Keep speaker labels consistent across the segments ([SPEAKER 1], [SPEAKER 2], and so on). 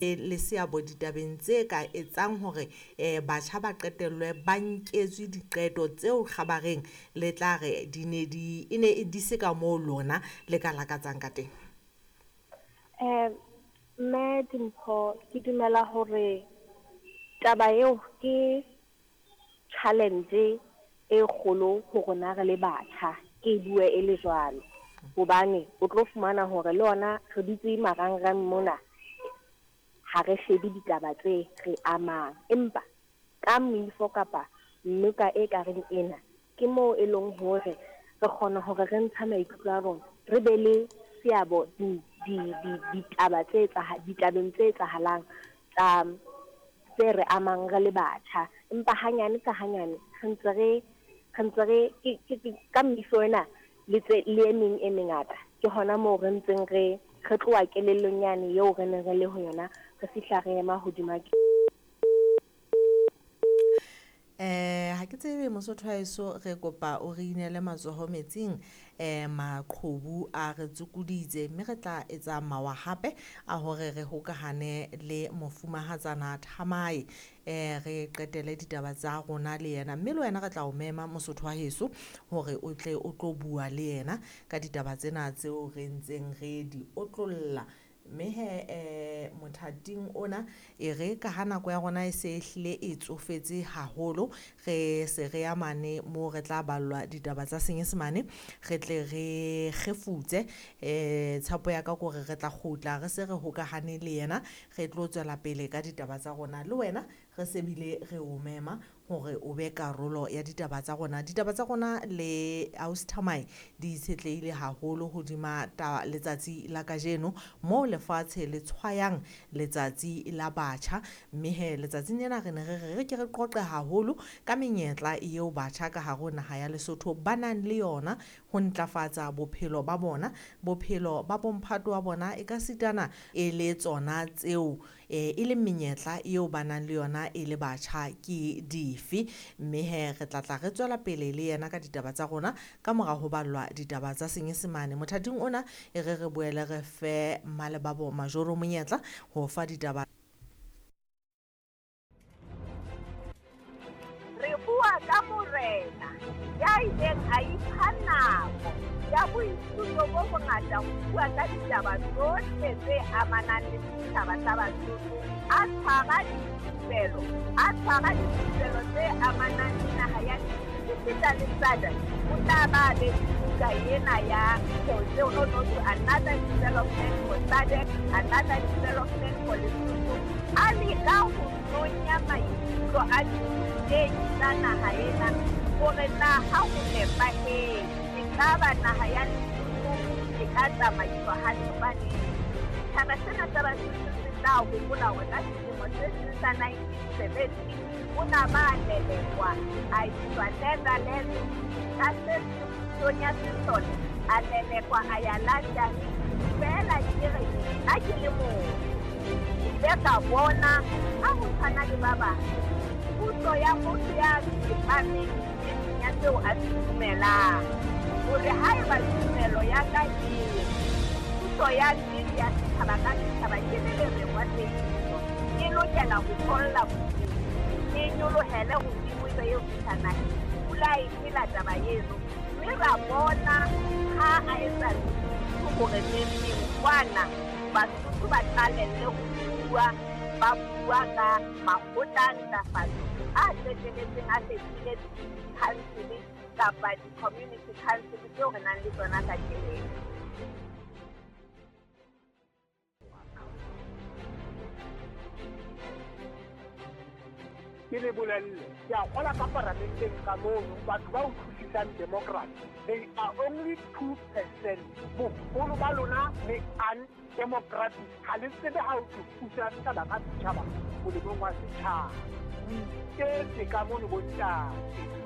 [SPEAKER 1] Le seabo ditabeng tse ka etsang hore batjha ba qetellwe ba nketswe diqeto tseo kgabareng le tla re di ne di e ne di se ka moo lona le ka lakatsang ka teng?
[SPEAKER 2] Mme Dimpho, ke dumela hore taba eo ke challenge e kgolo ho rona re le batjha, ke bue e le jwalo. Hobane o tlo fumana hore le ona re dutse marangrang mona, ha re shebe ditaba tse re amang. Empa ka moifo kapa noka e ka reng ena, ke moo e leng hore re kgona hore re ntsha maikutlo a rona, re be le seabo ditaba tse ditabeng tse etsahalang tsa tse re amang re le batjha. Empa hanyane ka hanyane re ntse re ka moifo ena le tse le e meng e mengata, ke hona moo re ntseng re tloha kelellong yane eo re neng re le ho yona, re fihla re ema hodima.
[SPEAKER 1] Ha ke tsebe Mosotho wa heso, re kopa o re inele matsoho metsing. Maqhubu a re tsukuditse, mme re tla etsa mawa hape a hore re hokahane le mofumahatsana Thamae, re qetele ditaba tsa rona le yena, mme le wena re tla o mema Mosotho wa heso hore o tle o tlo bua le yena ka ditaba tsena tseo re ntseng re di otlolla. Mme he mothating ona e re ka ha nako ya rona e se hlile e tsofetse haholo, re se re ya mane moo re tla ballwa ditaba tsa Senyesemane, re tle re kgefutse. Tshepo ya ka ke hore re tla kgutla re se re hokahane le yena, re tlo tswela pele ka ditaba tsa rona. Le wena re se bile re o mema hore o be karolo ya ditaba tsa rona. Ditaba tsa rona le ausi Thamae di itshetlehile haholo hodima letsatsi la kajeno moo lefatshe le tshwayang letsatsi la batjha. Mme he letsatsing lena re ne re re ke re qoqe haholo ka menyetla eo batjha ka hare ho naha ya Lesotho ba nang le yona ho ntlafatsa bophelo ba bona, bophelo ba bomphato wa bona, e ka sitana e le tsona tseo e leng menyetla eo ba nang le yona e le batjha ke dife. Mme he re tla tla re tswela pele le yena ka ditaba tsa rona ka mora ho ballwa ditaba tsa Senyesemane. Mothating ona e re re boele re fe Malebabo Majoro monyetla ho fa ditaba.
[SPEAKER 3] Re bua ka morena ya ileng a ipha nako ya boithuto bo bongata ho bua ka ditaba tsohle tse amanang le setjhaba sa Basotho, a tshwara dithupelo, a tshwara dithupelo tse amanang le naha ya esita le SADC. O tla ba be buka ena ya no to another development for SADC, another development for Lesotho. A leka ho nonya maikutlo a dithutehi tsa naha ena hore na ha ho nepahetse ekaba naha ya Lesotho e ka tsamaiswa hantle. Hobane setjhaba sena sa Basotho se tla hopola hore ka selemo se seng sa 1970 o na ba lelekwa a iswa Netherlands, ka se pusong ya sesole a lelekwa a ya London. Feela ke re nna ke le motho, ke ile ka bona ha ho tshwana le ba bang puso ya motho ya tsepameng nneteng ya seo a se dumelang, hore haeba tumelo ya ka e re puso ya nnete ya setjhaba ka setjhaba ke le lerengwa tsebiso, e lokela ho tholla bodimo, e nyolohele hodimo ebe eo fihla naheng. Pula e phela taba eno, mme ra bona ha a etsa hore neng kwana Basotho ba qalelle ho bua, ba bua ka makgotla a ntlafatso a qetelletseng a fetohile di-council kapa di-community council tseo re nang le tsona kajeno.
[SPEAKER 4] Ke le bolelle, ke a kgola ka paramenteng ka mono, batho ba utlwisisang democracy, they are only 2%. Boholo ba lona le undemocratic, ha le tsebe ha ho thusa setjhaba ka setjhaba molemong wa setjhaba. O iketse ka mono bontate.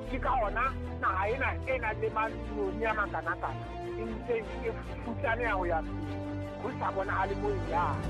[SPEAKER 4] Ke ka hona naha ena e nang le manoni a makanakana e ntseng e futsaneha ho ya pele, ho sa bonahale moo e yang.